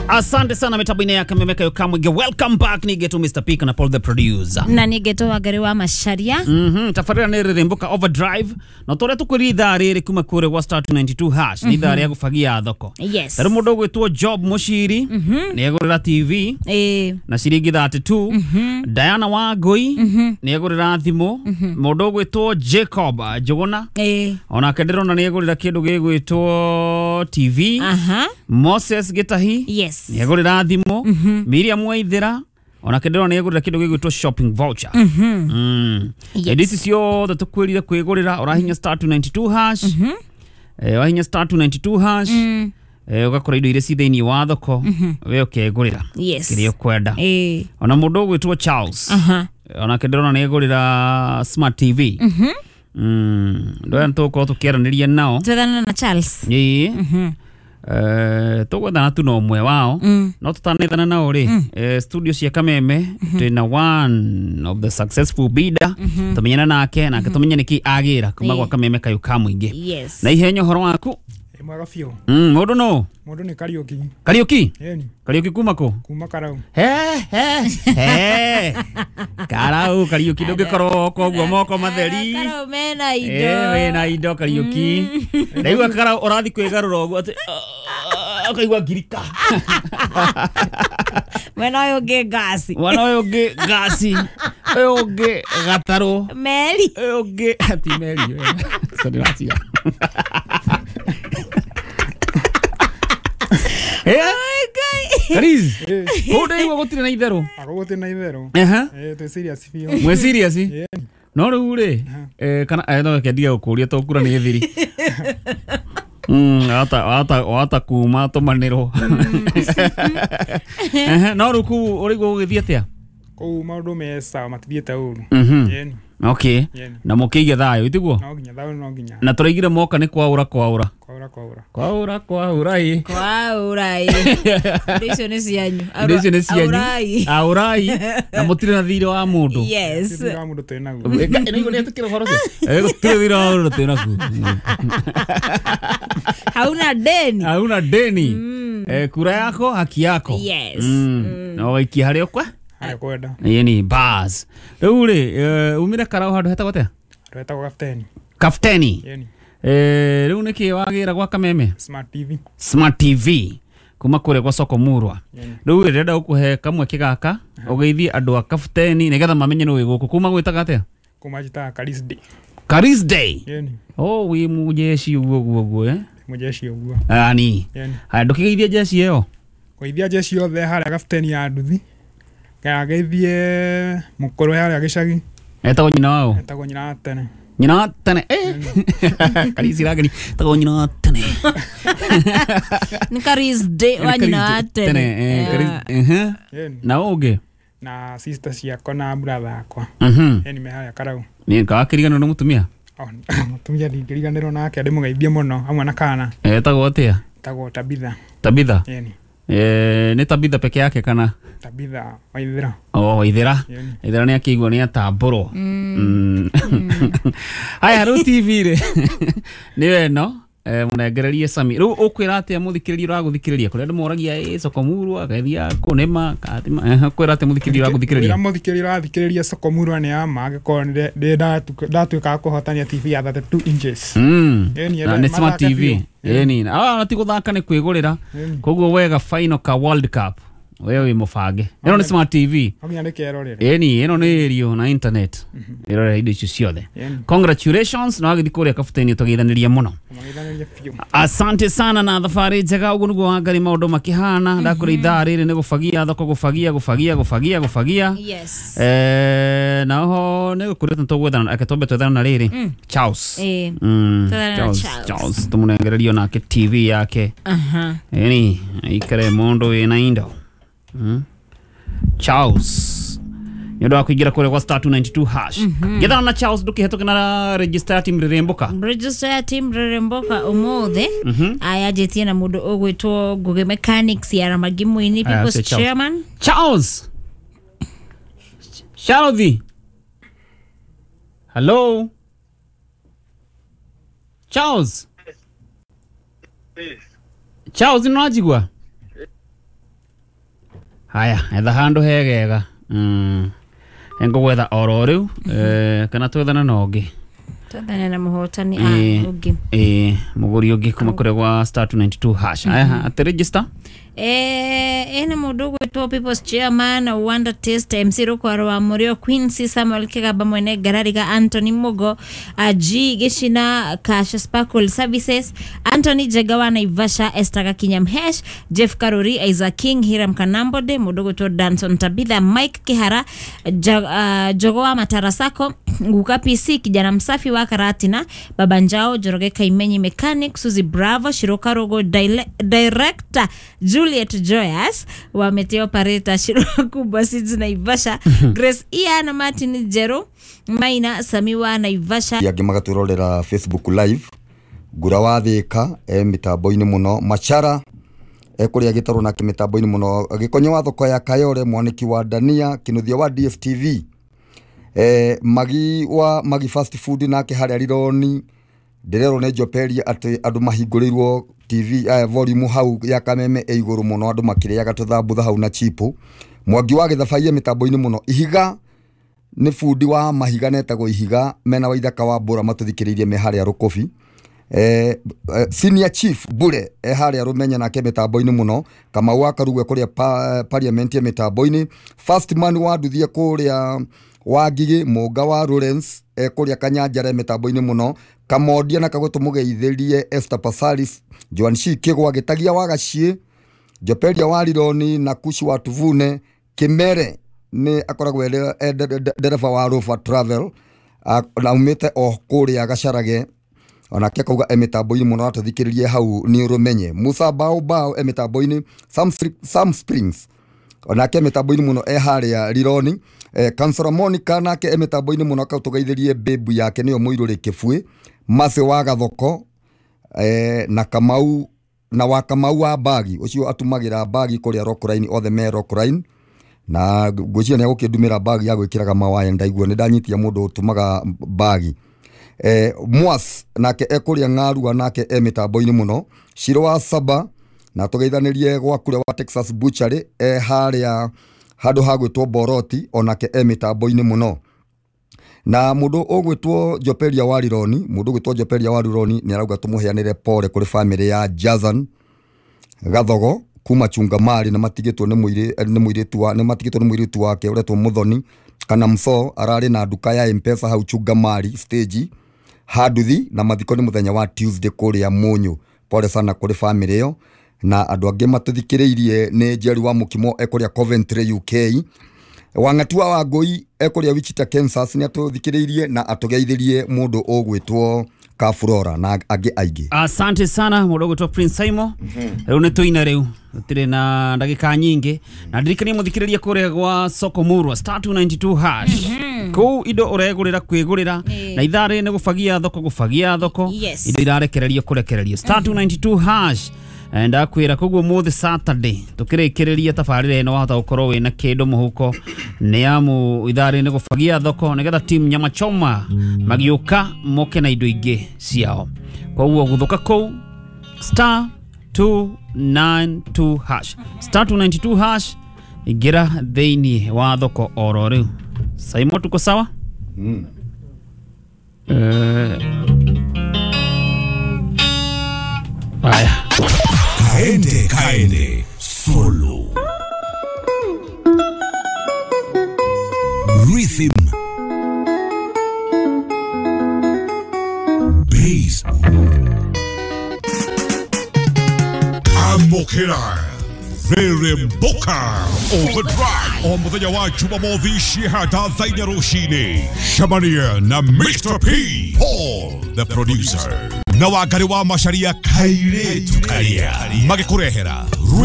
Asante sana mitambo-inĩ ya Kameme kayo Kamwige. Welcome back ni Geto Mr. P na Paul the producer. Na nĩ Geto Wangari wa Macharia. Tabarĩra nĩ Rĩrĩmbũka Overdrive. Na tũrĩa tũkwĩria ithaa rĩrĩ kuma kũrĩa gwa star 292 hash nĩ ithaa rĩa gũbagia thoko. Yes. Tarĩ mũndũ ũgwĩtwo Job Mũciri nĩ egũrĩra TV na ciringi 32. Diana Wangũi nĩ egũrĩra thimũ. Mũndũ ũgwĩtwo Jacob Njũgũna onake ndĩrona nĩ egũrĩra kĩndũ gĩgwĩtwo TV. Moses Gitahi Yes. nĩ egũrĩra thimũ. Miriam Waithera onake ndĩrona nĩ egũrĩra kĩndũ gĩgwĩtwo shopping voucher. Yes. Indo ici ciothe tũkwĩrire kwĩgũrĩra ũrahinya star 292 hash. Wahinya star 292 hash ũgakora indo iria ci thĩinĩ wa thoko we ũkegũrĩra Yes. kĩrĩa ũkwenda. Ona mũndũ ũgwĩtwo Charles onake ndĩrona nĩ egũrĩra smart TV. Ndũ aya nĩtũgũkorwo tũkĩaranĩria nao. Twethana na Charles. Ĩĩ. Tũgwethana tu na ũmwe wao no tũtanethana nao rĩ, studio cia Kameme twĩna one of the successful bidder tũmenyane nake nake tũmenye nĩkĩ agĩra kuma gwa Kameme kayũ ka mũingĩ. Yes. Na ihenya ũhoro waku. Mwega biũ. Mũndũ nũ? Mũndũ nĩ Kariũki. Kariũki? Ĩni. Kariũki kuma kũ? Kuma Karau. He he he. Karau Kariũki ndũngĩkorwo koguo moko matheri. Karau mena indo. Wĩna indo Kariũki. Ndaigua Karau ũrathi kwĩgarũra ũguo atĩ ũkaigua ngirika. Mwena ũyũ ũngĩ ngasi. Mwana ũyũ ũngĩ ngasi. Ũyũ ũngĩ gatarũ. Meri. Ũyũ ũngĩ ti meri. Sorry, ndĩratiga. Kariz. Kũu ndaigua gũtirĩ na itherũ. Gũtirĩ na itherũ. Twĩ serious biũ. Mwĩ serious? No rĩu rĩ, kana no reke ndige gũkũria tondũ kura nĩ thiri. Wata kuma tũmanĩrwo. No rĩu kũu ũraigua gũgĩthiĩ atĩa? Kũu maũndũ me sawa matithiĩte ũru. Okay. Na mũkĩige thayũ itiguo? No nginya thayũ no nginya. Na tũraigire moka nĩ kwaũra kwaũra. Kwaũra kwaũra. Kwaũra kwaũra ĩ. Kwaũra ĩ. Indo icio nĩ cianyu. Indo icio nĩ cianyu. Aũrai. Aũrai. Na mũtirĩ na thirĩ wa mũndũ. Yes. Thirĩ wa mũndũ twĩ naguo. Nĩguo nĩetĩkĩra ũhoro ũcio. Gũtirĩ thirĩ wa mũndũ twĩ naguo. Hauna deni. Hauna deni. Kura yako haki yako. Yes. Na waikia harĩa ũkwa? Harĩa kwenda. Ĩni bas. Rĩu rĩ, umire Karau handũ hetagwo atĩa? Handũ hetagwo Kafteni. Kafteni. Ĩni. Rĩu nĩkĩ wagĩra gwa Kameme? Smart TV. Smart TV kuma kũrĩa gwa Soko Murwa. Rĩu rĩ, ndĩrenda gũkũhe kamweke gaka ũgeithie andũ a Kafteni nĩgetha mamenye nĩ wĩ gũkũ. Kuma gwĩtaga atĩa? Kuma njĩtaga Karis Day. Karis Day. Ĩni. Oh, wĩ mũjeshi ũguo ũguo ũguo eh? Mũjeshi ũguo. Ani. Haya ndũkĩgeithie jeshi ĩyo. Kũgeithia jeshi yothe harĩa Kafteni ya nduthi. Ngeithie mũkũrũ harĩa gĩcagi. Etagwo nyina wao? Etagwo nyina wa tene. Nyina wa tene. Karisi rageni. Etagwo nyina wa tene. Nĩ Karis Day wa nyina wa tene. Na ũngĩ? Na sister ciakwa na brother akwa. Ĩni me harĩa Karau. Nĩ wakĩriganĩrwo nĩ mũtumia? Mũtumia ndingĩriganĩrwo nake ndĩmũgeithie mũno hamwe na kana. Etagwo atĩa? Etagwo Tabitha. Tabitha? Ĩni. Nĩ Tabitha peke yake kana? Tabitha Waithera. Oh, Waithera. Waithera nĩ akĩigua nĩ atambũrwo. Haya rĩu TV rĩ nĩyo ĩno mũnengererie Sami. Rĩu ũkwĩra atĩa mũthikĩrĩria ũragũthikĩrĩria kũrĩa andũ moragia ĩ Soko Murwa agathiĩ kũnĩma kathima. Ũkwĩra atĩa mũthikĩrĩria ũragũthikĩrĩria? Kwĩra mũthikĩrĩria ũrathikĩrĩria Soko Murwa nĩ ya ma angĩkorwo ndĩ ndatuĩka wa kũhotania TV ya 32 inches. Nĩ smart TV. Ĩni. Ti gũthaka nĩ kwĩgũrĩra. Koguo wega final ka World Cup. We wĩ mũbange. Ĩno nĩ smart TV. No nginya ndĩkerorere. Ĩni, ĩno nĩ ĩrio na internet. Ĩrorera indo icio ciothe. Congratulations na wagĩthiĩ kũrĩa Kafteni tũgeithanĩria mũno. Asante sana na thabarĩ njega ũguo nĩguo Wangari maũndũ makĩhana. Ndakũrĩ ithaa rĩrĩ nĩ gũbagia thoko gũbagia gũbagia gũbagia gũbagia. Yes. Na oho nĩ gũkũrĩte tũgwethana ake twambe twethana na rĩrĩ. Charles. Charles. Charles tũmũnengererio nake TV yake. Ĩni, ikare mũndũ wĩna indo. Charles nĩ ũndũ wa kũingĩra kũrĩa gwa star 292 hash. Gethana na Charles ndũkĩhetũke na register ya team Rĩrĩmbũka. Register ya team Rĩrĩmbũka ũmũthĩ ayanjĩtie na mũndũ ũgwĩtwo Ngũgĩ Mechanics ya Ramagi Mũini People's Chairman. Charles. Charles. Hello. Charles. Charles nĩ ũranjigua? Haya, etha handũ hegega. Ngũgwetha oro rĩu kana twethana na ũngĩ. Twethane na mũhotani ũngĩ. Mũgũri ũngĩ kuma kũrĩa gwa star 292 hash. Aya, atĩ register. Ena mũndũ ũgwĩtwo People's Chairman Wonder Taste MC Rũkwaro wa Mũrĩo Quincy Samuel Kĩgamba mwene Ngarariga Anthony Mugo G Gĩcina Cash Sparkle Services Anthony Njega wa Naivasha Esther Gakinya Mhesh Jeff Karuri Isaac King Hiram Kanambode mũndũ ũgwĩtwo Danson Tabitha Mike Kihara Jogo wa Matarasako Nguka PC kijana msafi wa Karatina Baba Njao Joroge Kaimenyi Mechanic Suzy Bravo Shiroka Rogo Director Juliet Joyas wa Meteo Pareta Shiroka Kubwa Seeds Naivasha Grace Ian Martin Jero Maina Samiwa Naivasha angĩ magatwĩrorera Facebook live Ngura wa Thĩka e mĩtambo-inĩ mũno Machara ekũrĩa gĩtarũ nake mĩtambo-inĩ mũno Gĩkonyo wa thoko ya Kayore Mwanĩki wa Dania Kĩnuthia wa DFTV Magi wa Magi fast food nake harĩa Rironi ndĩrerwo nĩ Njoperia atĩ andũ mahingũrĩirwo TV volume hau ya Kameme ĩ igũrũ mũno andũ makĩrĩaga tũthambutha hau na chipo Mwangi wa Gĩthabaia mĩtambo-inĩ mũno Ihiga nĩ bundi wa mahiga netagwo Ihiga mena Waithaka wa Mbũra matũthikĩrĩirie me harĩa Rũkũbi Senior Chief Bure harĩa Rũmenya nake mĩtambo-inĩ mũno Kamau wa Karugwe kũrĩa parliament ya mĩtambo-inĩ First man wa Nduthie kũrĩa wa Ngigĩ Mũnga wa Lawrence kũrĩa Kanyanjara mĩtambo-inĩ mũno Kamondia na Kagũtũ mũgeithĩrie Esther Pasaris Joan Shi Kĩgwa Gĩtagia wa Gaciĩ Njoperia wa Rironi na Kushi wa Tuvune Kĩmere nĩ akoragwo ndereba wa Rover Travel na aumĩte o kũrĩa Gacarage onake akauga e mĩtambo-inĩ mũno atũthikĩrĩrie hau nĩ ũrũmenye Musa Bao Bao e mĩtambo-inĩ Sam Springs onake mĩtambo-inĩ mũno e harĩa Rironi Kansora Monica nake e mĩtambo-inĩ mũno akatũgeithĩrie bebu yake nĩyo Mũirũrĩ Kĩbuĩ Mase wa Gathoko na Kamau na wa Kamau wa bagi ũcio atumagĩra bagi kũrĩa Rockline othe me Rockline na ngwĩciria nĩ agũkĩndumĩra bagi ya gwĩkĩraga mawaya ndaigua nĩ ndanyitia mũndũ ũtumaga bagi Mwas nake ekũrĩa Ng'arua nake e mĩtambo-inĩ mũno Shiro wa Saba na tũgeithanĩrie gwa kũrĩa wa Texas Butchery e harĩa handũ ha gwĩtwo Boroti onake e mĩtambo-inĩ mũno na mũndũ ũgwĩtwo Njoperia wa Rironi mũndũ ũgwĩtwo Njoperia wa Rironi nĩ arauga tũmũheanĩre pole kũrĩ famĩlĩ ya Jazan Gathogo kuma Chungamari na matigĩtwo nĩ mũirĩtu wake ũretwo Muthoni kana Mso ararĩ na nduka ya M-Pesa hau Chungamari stage Handuthi na mathiko nĩ mũthenya wa Tuesday kũrĩa Mũnyũ pole sana kũrĩ famĩlĩ ĩyo na andũ angĩ matũthikĩrĩirie nĩ Jerry wa Mũkimo ekũrĩa Coventry UK Wang'atua wa Ngũi ekũrĩa Wichita Kansas nĩ atũthikĩrĩirie na atũgeithĩrie mũndũ ũgwĩtwo Kafurora na angĩ aingĩ. Asante sana mũndũ ũgwĩtwo Prince Simon. Rĩu nĩ tũina rĩu tũtirĩ na ndagĩka nyingĩ na ndirikanie mũthikĩrĩrie kũrĩa gwa Soko Murwa star 292 hash kũu indo ũregũrĩra kwĩgũrĩra na ithaa rĩrĩ nĩ gũbagia thoko gũbagia thoko indo irarekererio kũrekererio star 292 hash ndakwĩra koguo mũthĩ Saturday tũkĩrĩkĩrĩria tabarĩra ĩno wahota gũkorwo wĩna kĩndũ mũhuko nĩ amu ithaa rĩrĩ nĩ gũbagia thoko nĩgetha team nyama choma magĩũka moke na indo ingĩ ciao koguo gũthũka kũu star 292 hash star 292 hash ingĩra thĩinĩ wa thoko oro rĩu Saimo tuko sawa? Haya. Kaende kaende solo rhythm bass Amokera Reremboka Overdrive o muthenya wa Jumamothi cihata thaa inya rũcinĩ Shamania na Mr. P Paul the producer na Wangari wa Macharia kairetu karia magĩkũrehera.